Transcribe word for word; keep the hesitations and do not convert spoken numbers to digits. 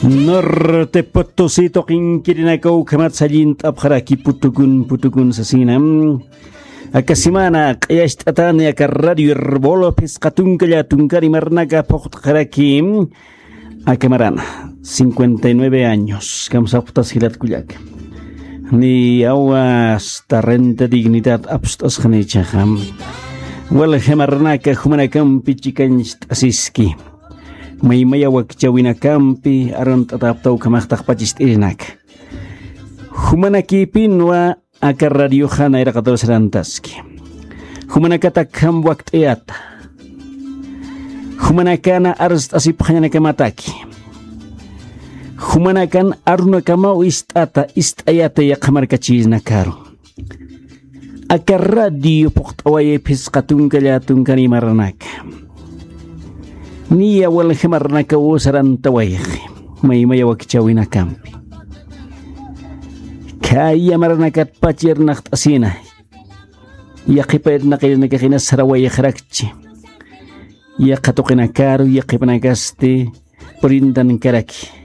Norte Potosí tuqinkirinaka ukhamat sallint'apxaraki putukun putukun sasina. Aka semana q'iyacht'atani aka Radio Herbol phisqa tunka llätunkar imaranaka phuqt'xaraki. Aka marana cincuenta y nueve años kamsapxtas jilat kullaka. Ni awa hasta renta dignidad apst'asxani ichaxa. Walja marranaka jumanakampi chikañcht'asiski. Maymaya wakchawinakampi arunt'atapta ukhamaxtaq pachist'irinaka. Jumanakïpinwa aka radioxa nayraqatur sarantaski. Jumanakatakjam wakt'ayata. Jumanakana arst'asipxañanakamataki. Jumanakan arunakamaw ist'ata ist'ayata yaqhamarkachirinakaru. Aka radio phuqt'away phisqa tunka llätunkan imaranaka. Niya walja marranakaw sarantawayxi. Maymaya wakchawinakampi. Khaya maranakatpach irnaqt'asina. Yaqhipa irnaqirinakaxina sarawayxarakchi. Yaqha tuqinakaru yaqhipanakasti purintankaraki.